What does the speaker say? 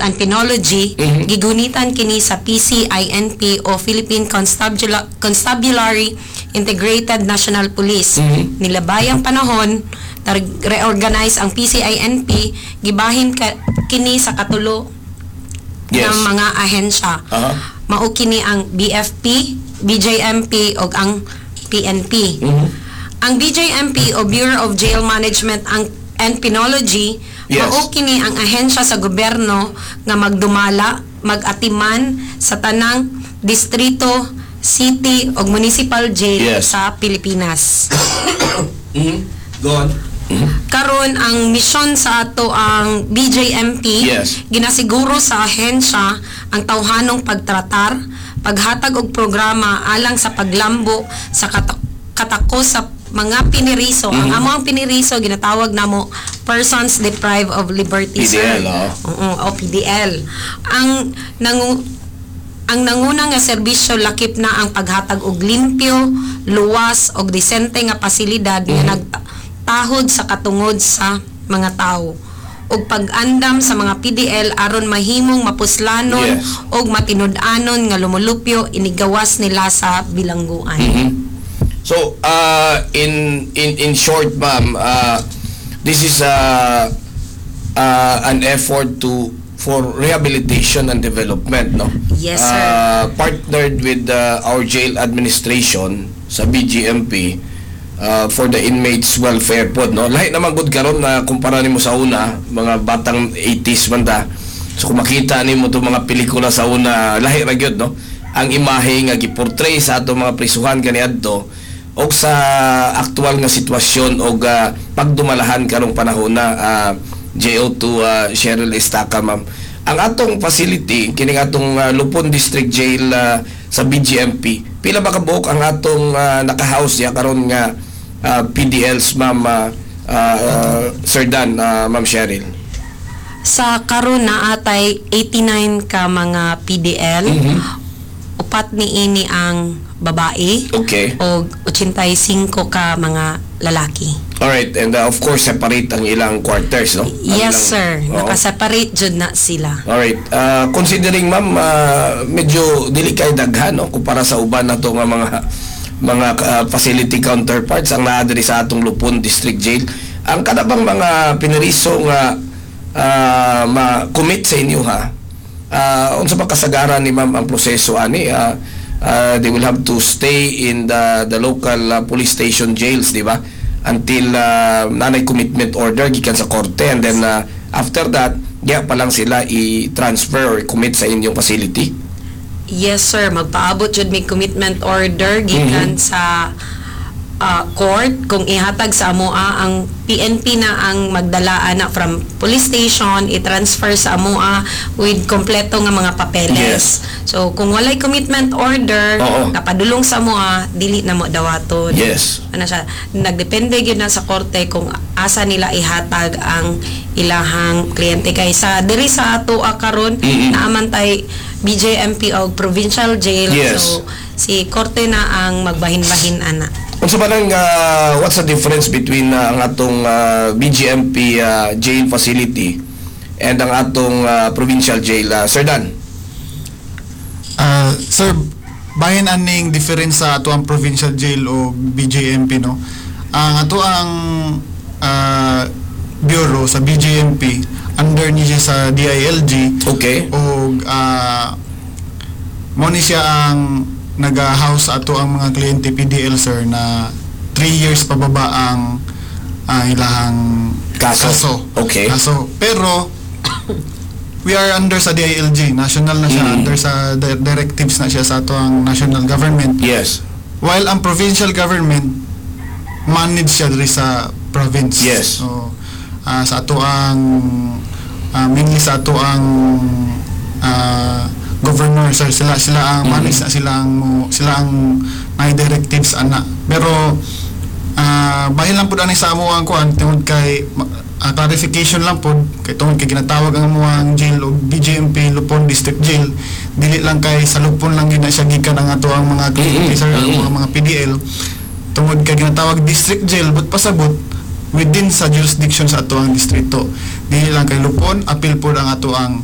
and Penology, gigunitan kini sa PCINP o Philippine Constabulary Integrated National Police. Nilabay ang panahon, reorganize ang PCINP, gibahin kini sa katulo ng mga ahensya. Mao kini ang BFP, BJMP ug ang PNP. Ang BJMP o Bureau of Jail Management and Penology, mao kini ang ahensya sa gobyerno nga magdumala, mag-atiman sa tanang distrito, city ug municipal jail sa Pilipinas. Go on. Karon, ang misyon sa ato ang BJMP, ginasiguro sa ahensya ang tawhanong pagtratar, paghatag og programa alang sa paglambo sa katakos sa mga piniriso. Ang amo ang piniriso ginatawag namo persons deprived of liberty, sir. PDL, oh. Oo, o PDL. Ang nanguna nga serbisyo lakip na ang paghatag og limpyo, luwas og disente nga pasilidad nga nagtahod sa katungod sa mga tawo ug pag-andam sa mga PDL aron mahimong mapuslanon ug matinud-anon nga lumulupyo inigawas nila sa bilangguan. So, in short, ma'am, this is an effort to for rehabilitation and development, no? Yes, sir. Partnered with our jail administration sa BJMP for the inmates' welfare pod, no? Lahi naman gud karon na kumpara nimo sa una, mga batang 80s man ta. So kung makita nimo itong mga pelikula sa una, lahi ra gyud, no? Ang imahe nga giportray sa atong mga prisuhan kaniadto og sa aktual nga sitwasyon og pagdumalahan karong panahon na, JO2 Cheryl Estaca, ma'am. Ang atong facility kining atong Lupon District Jail sa BJMP, pila ba kabuok ang atong naka-house ya karon nga PDLs, ma'am, Sir Dan, Ma'am Cheryl? Sa karon naa tay 89 ka mga PDL. Upat ni ini ang babae og 85 ka mga lalaki. Alright, and of course separate ang ilang quarters, no? Ang Yes, sir. Nakaseparate jud na sila. Alright. Considering, ma'am, medyo dili kay daghan, no, kumpara sa uban nato nga mga facility counterparts ang naa diri sa atong Lupon District Jail. Ang kada bang mga piniriso nga ma-commit sa inyo ha? Unsa pa kasagaran ni ma'am ang proseso ani? They will have to stay in the local police station jails, di ba? Until nanay commitment order gikan sa korte and then after that, diya pa lang sila i-transfer or commit sa inyong facility. Yes, sir. Magpaabot jud may commitment order gikan sa court. Kung ihatag sa amoa, ang PNP na ang magdala ana from police station, i-transfer sa amoa with kompleto nga mga papeles. So kung walay commitment order napadulong sa amoa, dili na mo dawaton. Ano siya, nagdepende gyud na sa korte kung asa nila ihatag ang ilahang kliyente, kay sa diri sa atoa karon naaman tay BJMP og provincial jail. So si korte na ang magbahin-bahin ana. Unsa ba nang what's the difference between ang atong BJMP jail facility and ang atong provincial jail, Sir Dan? Sir, bahin aning difference sa ato ang provincial jail o BJMP, no? Ang ato ang bureau sa BJMP, under ni siya sa DILG og mo ni siya ang naga-house sa ato ang mga kliyente PDL, sir, na 3 years pababa ang ilahang Kaso. Kaso. Kaso. Pero we are under sa DILG, national na siya, under sa directives na siya sa ato ang national government. While ang provincial government, manage siya diri sa province. So sa ato ang mainly sa ato ang governor, sir, sila sila ang manage na, sila ang may directives ana. Pero bahin lang pud ani sa amo ang kuan tungod kay clarification lang pud kay tungod kay ginatawag ang amoang jail og BJMP Lupon District Jail, dili lang kay sa Lupon lang gyud na siya gikan ang ato ang mga kliyente, sir, ang mga PDL, tungod kay ginatawag district jail, but pasabot within sa jurisdiction sa ato ang distrito, dili lang kay Lupon, apil pod ang ato ang